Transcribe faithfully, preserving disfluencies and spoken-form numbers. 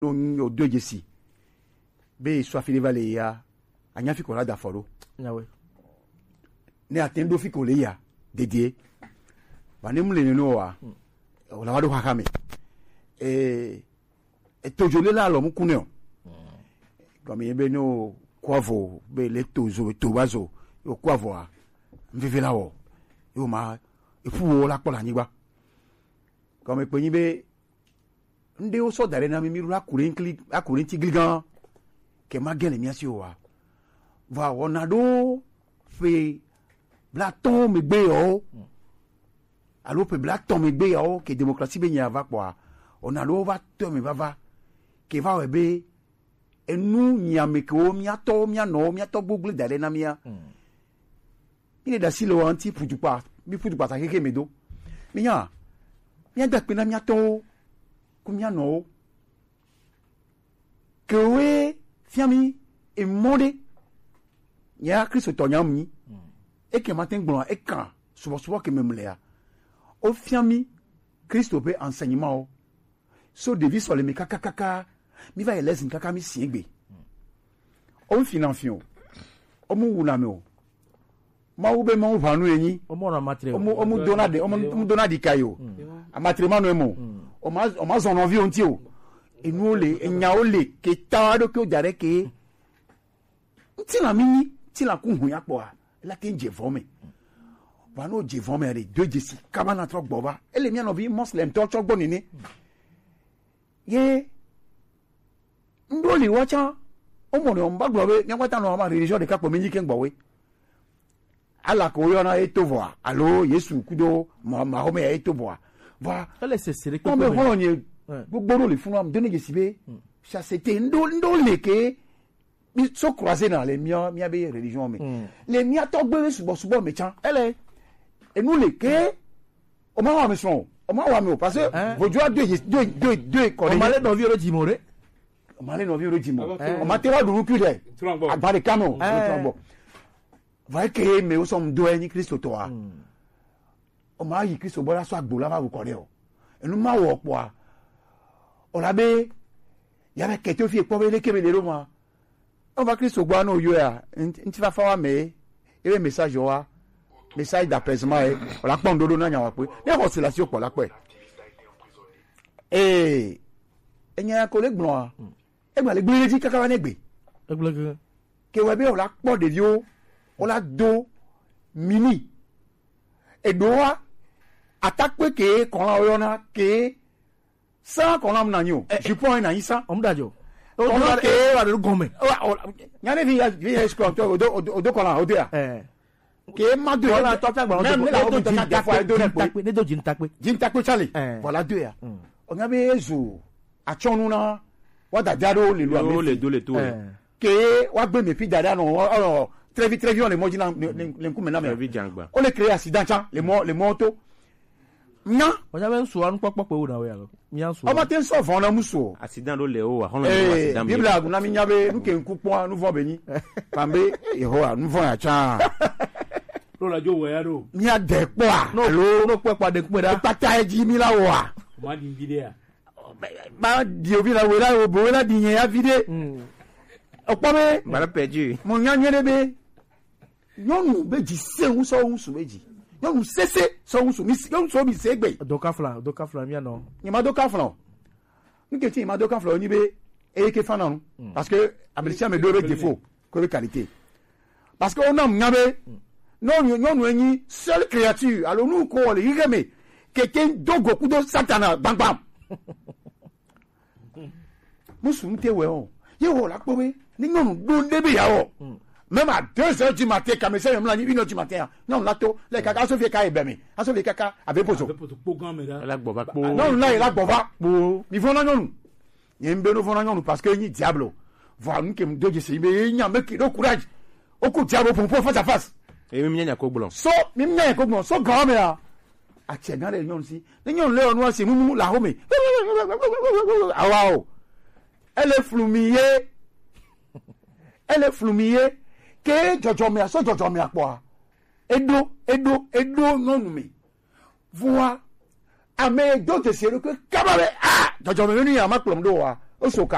no nyo do jesi. Be so afile vale ya. Anya fi ko la da fo do. Nyawe. Ne aten do fi ko le ya. Dedie. Ba ne mu le no wa. O la wa do ha ha me. E, e tojo le la lo mu kune o. Comme ye be no kwavo be le tozo to bazo. Yo kwavo a. Mvivi la wo. Yo ma e fu wo la kpɔ le anyigba. Comme e pe nyi be ŋɖewo sɔ da ɖe na mí, mí ɖo akuɖeŋkli akuɖeŋtigligã ke ma gɛlɛ mía si o wa. Vɔ wɔna ɖo ƒe blatɔ̃ megbe yɔwo alo ƒe blatɔ̃ megbe yɔwo ke demokrasi be nya va kpɔa, wɔna ɖewo va tɔ me vava ke va wɛ be enu nyiame kewo mía tɔwo, mía nɔwo, mía tɔgbo gble da ɖe na mía. Mí le ɖe asi le wa ŋuti ƒutukpa, mí ƒutukpa ta xexe me do. Mí nya, mía da kpe na mía tɔwo ku mía nɔwo. Kewoe fia mí emɔ ɖe. Nya Kristotɔ nya mu nyi. Eke ma te gblɔ eka subɔsubɔ ke me mlea. O fia mí Kristo ƒe enseignement wo. So ɖevi sɔleme kakakaka, mí va yi lezin kaka mí si egbe. Wo fi na fi o. Wo mu wu na me o. Mawu be Mawu ʋanu enyi. Wo mu nɔ amatre o. Wo mu wo mu dona de, wo mu wo mu dona di kai o. Amatre ma no emo. O ma o ma zɔn nɔvi o nti o. Enu wo le, enya wo le, ke ta wa ɖo ke wo da ɖe ke. Ŋutilã mi nyi, ŋutilã ku hu ya kpɔa, ela te ŋu dze vɔ me. Vɔa ne wodze vɔ me ɖe, do dzesi kaba na trɔ gbɔ va. Ele mía nɔvi Moslemtɔ tsɔ gbɔ nene. Ye ŋɖo li wa tsã, womɔ ne womba gblɔ be míakpata nɔ ama religion ɖeka kpɔ mi nyi ke gbɔwe. Ala ko woyɔna ye to vɔa, alo Yesu kudo ma- Mahome ya ye to vɔa. Vɔa ele sese ɖe kpɔkpɔ me. Xɔlɔ nye gbogbo ɖo le funu am do ne dzesi be sasete ŋɖo ŋɖo le ke. Mi so croiser na le mía mía be religion me. Le mía tɔgbe subɔsubɔ me tsã. Ele enu le ke o ma wa mi sɔn o. O ma wa mi o parce que vojo a do do do do ko. O ma le nɔvi ro dzi mo re. O ma le nɔvi ro dzi mo. O ma te wa ɖu nukui ɖe. Agba ɖeka me o. Trɔgbɔ. Vɔ eke me wo sɔ ŋdɔ enyi Kristo tɔa. O ma yi Kristo gbɔ la sɔ agbo la va wu kɔ ɖe o. Enu ma wɔ kpɔa. O la be ya be kete fi kpɔ be leke be le ɖo ma. Eva Kristo gbɔ anɔ yɔa, ŋti fafa wa me, ebe message wa, message d'apaisement ye, wòla kpɔ ŋɖoɖo na nya wa kpe. Ne xɔ si la si wokpɔ la kpɔe. Ee, enya ya ko le gblɔa, egba le gblẽ dzi kaka va ne gbe. Egblẽ ke. Ke wɔ be wòla kpɔ ɖeviwo, wòla do mini. Eɖoa, atakpe ke kɔla woyɔna ke Sans qu'on ame nanyi o. Jupon ye nanyi sans. Ɔmu da jo. Kɔnɔ ke wa de gɔmɛ. Nyane vi ya vi ya skɔ to odo odo kɔla odo ya. Ke ma do. Kɔla tɔ tagba odo. Même la odo tɔ tagba fo odo ne kpe. Ne do jin takpe. Jin takpe chale. Voilà deux ya. O nya be zo. Atsɔnu na. Wa dada do le lo ame. Le do le to. Ke wa gbe me pi dada no ɔ trɛvi trɛvi on le mɔ dzi na le nkume na me. Trɛvi jangba. O le créer accident tsa le mɔ le mɔ to. Nya. Ɔnya be ŋsu anukpɔkpɔ kpe wo na wo ya lo. Mia ŋsu. Ɔma te ŋsɔ vɔn na musu o. Accident ɖo le wo wa xɔlɔ. Ee, accident mi. Biblia guna mi nya be nu ke ŋku kpɔa nu vɔn be nyi. Pambe Yehowa nu vɔn ya tsa. Lo la jo wɛ ya ɖo. Mia de kpɔa. No lo no kpɔ kpɔ de kpɔ da. Kpata edzi mi la wa. Ma di vi de ya. Ma di ovi la wela o bo wela di nye ya vi de. Okpɔ be. Bala perdu. Mo nya nye de be. Nyɔnu be dzi se ŋu sɔ ŋusu be dzi. Nyɔnu sese sɔ ŋusu mi se ŋusu mi se gbe. Do kafla do kafla mia nɔ. Nye ma do kafla o. Nke ti ma do kafla o nyi be eye ke fana nu. Parce que ame sia ame do be défaut ko be qualité. Parce que o nam nya be nyɔnu nyɔnu enyi seule créature alors nous ko le yige me ke te do go kudo satana bam bam. Musu ŋute wɛ o. Ye wɔ la kpɔ be ni nyɔnu ɖo ɖe be ya wɔ. Même à deux heures du matin kame se yɔmla ni une heure du matin ya nyɔnu la to le kaka aso fie ka ebe me aso fie kaka ave pozo. Ave pozo kpo gan me da. La gbɔ va kpo. Nyɔnu la yi la gbɔ va kpo. Mi vɔ na nyɔnu. Ye n be no vɔ na nyɔnu parce que nyi diable. Vɔ nu ke m do dzi se be ye nya me ke do courage. O ku diable pour pour face à face. Emi mi nya ko gblɔ. So mi nya ko gblɔ so gan me ya. Atsɛ gã ɖe nyɔnu si. Ne nyɔnu le ɔnua si mumu le aho me. Awa o. Ele flu mi ye. Ele flu mi ye. Ke dzɔdzɔmea sɔ dzɔdzɔmea kpɔa. Eɖo eɖo eɖo nyɔnu me. Vua ame do dzesi eɖokui kaba be a dzɔdzɔme menu ya ma kplɔm ɖo wa. Oso